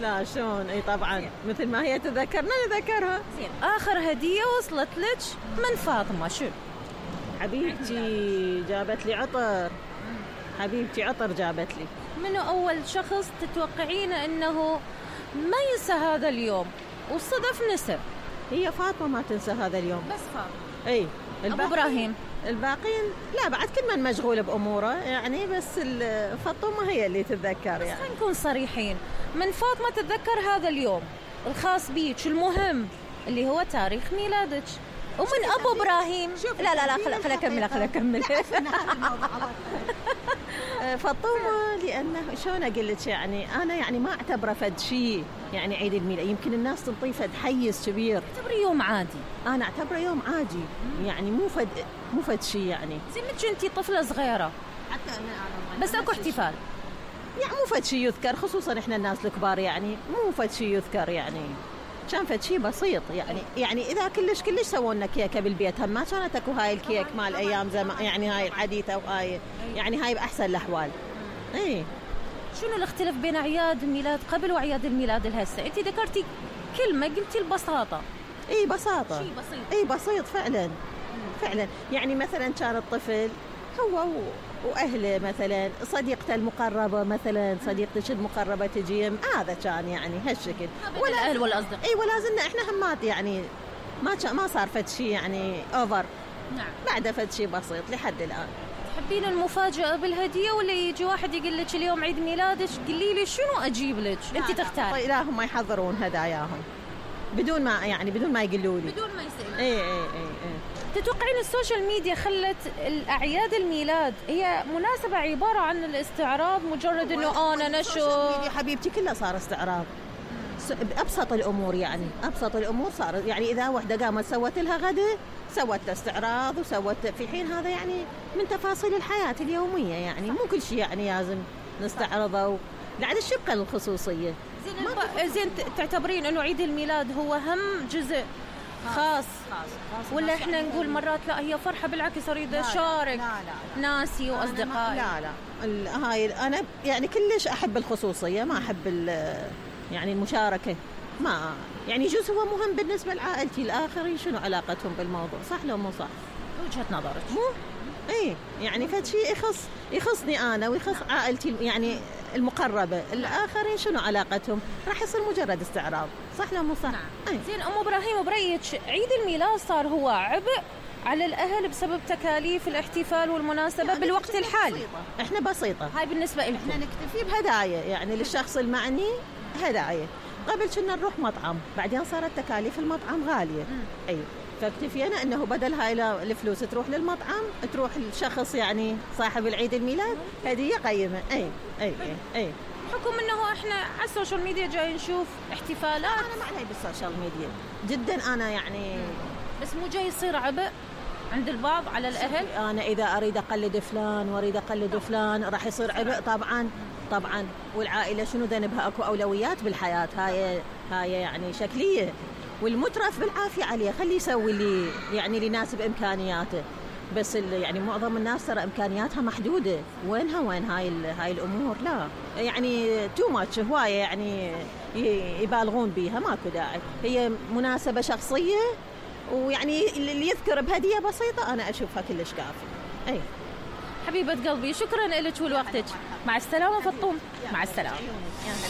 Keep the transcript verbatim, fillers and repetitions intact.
لا شلون اي طبعا زين. مثل ما هي تذكرنا نذكرها. زين اخر هديه وصلت لك من فاطمه شو؟ حبيبتي جابت لي عطر. حبيبتي عطر جابت لي. منو اول شخص تتوقعين انه ما ينسى هذا اليوم وصدف نسب؟ هي فاطمه ما تنسى هذا اليوم. بس فاطمه. اي ابو ابراهيم الباقين لا بعد كل من مشغول باموره يعني، بس فاطمه هي اللي تتذكر يعني. بس خلينا نكون صريحين، من فاطمه تتذكر هذا اليوم الخاص بيك المهم اللي هو تاريخ ميلادك. ومن ابو ابراهيم لا لا لا خل خل اكمل خل اكمل فاطمه لانه شلون اقول لك يعني انا يعني ما اعتبره فد شيء يعني عيد الميلاد، يمكن الناس تنطيه فد حيز كبير. اعتبري يوم عادي. انا اعتبره يوم عادي يعني مو فد مو فد شيء يعني. زي ما كنتي طفله صغيره حتى انا بس اكو احتفال يعني مو فد شيء يذكر، خصوصا احنا الناس الكبار يعني مو فد شيء يذكر يعني، كان فد شيء بسيط يعني. يعني اذا كلش كلش سووا لنا كيكه بالبيت هم ما كانت اكو هاي الكيك مال ايام زمان يعني هاي الحديثه وهاي يعني هاي باحسن الاحوال. اي شنو الاختلاف بين اعياد الميلاد قبل واعياد الميلاد الهسه؟ انت ذكرتي كلمه قلتي البساطه. اي بساطه شيء بسيط. اي بسيط فعلا فعلا يعني مثلا كان الطفل هو واهله مثلا صديقته المقربه مثلا صديقتك المقربه تجي هذا كان يعني هالشكل ولا الاهل والاصدقاء. اي ولا زلنا احنا همات يعني ما ما صار فد شيء يعني اوفر. نعم بعد فد شيء بسيط لحد الان. تحبين المفاجاه بالهديه ولا يجي واحد يقول لك اليوم عيد ميلادك قولي لي شنو اجيب لك؟ انت تختاري. لا هم يحضرون هداياهم بدون ما يعني بدون ما يقولوا لي بدون ما يسالوا. اي اي اي, اي. تتوقعين السوشيال ميديا خلت الأعياد الميلاد هي مناسبة عبارة عن الاستعراض مجرد إنه أنا نشر؟ السوشيال ميديا حبيبتي كلها صار استعراض بأبسط الأمور يعني أبسط الأمور صار يعني إذا وحدة قامت سوت لها غدا سوت له استعراض وسوت في حين هذا يعني من تفاصيل الحياة اليومية يعني مو كل شيء يعني لازم نستعرضه لعد الشبكة الخصوصية. زين الب... زين تعتبرين إنه عيد الميلاد هو هم جزء خاص, خاص. خاص. ولا احنا نقول مرات لا هي فرحه بالعكس اريد اشارك لا لا لا. ناسي واصدقائي؟ لا لا هاي انا يعني كلش احب الخصوصيه ما احب يعني المشاركه ما يعني يجوز هو مهم بالنسبه لعائلتي الاخرين شنو علاقتهم بالموضوع صح لو مو صح؟ وجهه نظرك مو اي يعني فد شيء يخص يخصني انا ويخص نعم. عائلتي يعني المقربة الآخرين شنو علاقتهم راح يصير مجرد استعراض صح لا مو صح؟ نعم. زين أم إبراهيم برأيك عيد الميلاد صار هو عبء على الأهل بسبب تكاليف الاحتفال والمناسبة يعني بالوقت الحالي؟ بسيطة. إحنا بسيطة هاي بالنسبة لكم. إحنا نكتفي بهدايا يعني للشخص المعني هدايا. قبل كنا نروح مطعم بعدين صارت تكاليف المطعم غالية. أي فاكتفينا انه بدل هاي الفلوس تروح للمطعم تروح الشخص يعني صاحب العيد الميلاد هديه قيمه. اي اي اي, أي. حكم انه احنا على السوشيال ميديا جاي نشوف احتفالات. انا ما علي بالسوشيال ميديا جدا انا يعني بس مو جاي يصير عبء عند البعض على الاهل. انا اذا اريد اقلد فلان واريد اقلد فلان راح يصير عبء طبعا طبعا. والعائله شنو ذنبها اكو اولويات بالحياه هاي هاي يعني شكليه والمترف بالعافية عليه خليه يسوي اللي يعني اللي يناسب إمكانياته. بس يعني معظم الناس ترى إمكانياتها محدودة وينها وين هاي هاي الأمور لا يعني تو ماتش هواية يعني يبالغون بيها ماكو داعي. هي مناسبة شخصية ويعني اللي يذكر بهدية بسيطة أنا أشوفها كلش كافي. أي حبيبة قلبي شكرا لك ولوقتك. مع السلامة فطوم. مع السلامة.